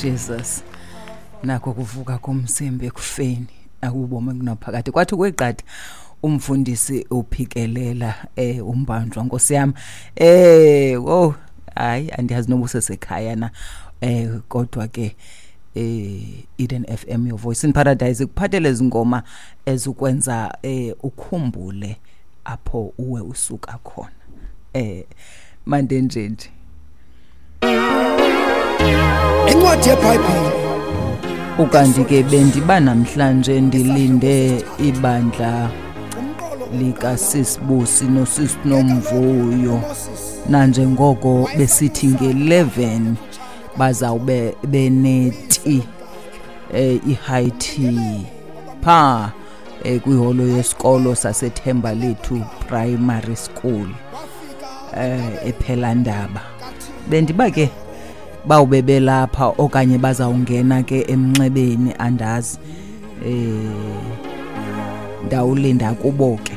Jesus nako kuvuka komzimba ekufeni akubomi kunaphakade. Kwathi kweqatha umfundisi uphikelela umbanjwa, nkosi yami, oh hayi, andiyazi noba usesekhaya na, kodwa ke Eden FM, your voice in paradise, ikuphathele izingoma ezikwenza ukhumbule apho uwe usuka khona. Mande nje nje. Incwadi yeBhayibhile. Ukanti ke bendiba namhlanje ndilinde ibandla likaSisibusi noSisinomvuyo, nanjengoko besithi nge-11 bazawube beneti i-high tea pha kwiholo yesikolo saseThemba Lethu Primary School ePhelandaba. Bendiba ke bawube belapha okanye bazawungena ke emnxebeni, andazi. Ndawulinda kubo ke.